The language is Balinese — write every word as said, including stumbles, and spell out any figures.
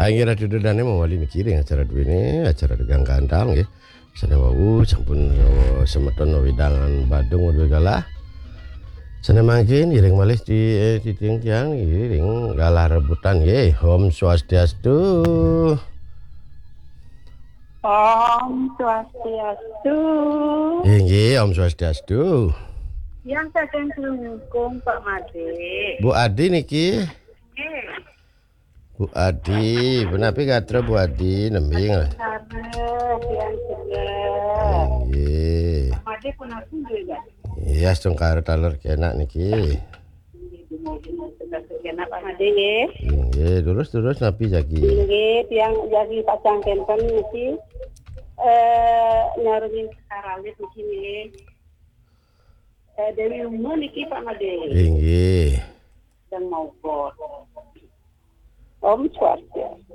Inggih, Ratu Dodane mawali niki ring acara duene, acara Tegang Gandal nggih. Sane wau sampun, eh, semeton wewidangan Badung Wedul Galah. Sane mangkin iring malih di, eh, titiang tiang nggih ring galah rebutan nggih. Om Swastiastu. Om Swastiastu. Inggih, Om Swastiastu. Yang saking Klungkung, Pak Made. Bu Adi niki. Nggih. Bu Adi, punapi gatra Bu Adi, nembe nggih. Sareng, yang seger. Inggih. Pak Made pun aku juga. Iya, astungkara taler kenak niki. Sudah sekian, Pak Made nggih. Inggih, terus-terus napi jagi. Inggih, tiang jagi pacang kenten niki. Eh, nyarungin sekar alit niki nggih. Eh, Dewi Uma niki, Pak Made. Inggih. Sedang mau bot. Om Swastiastu.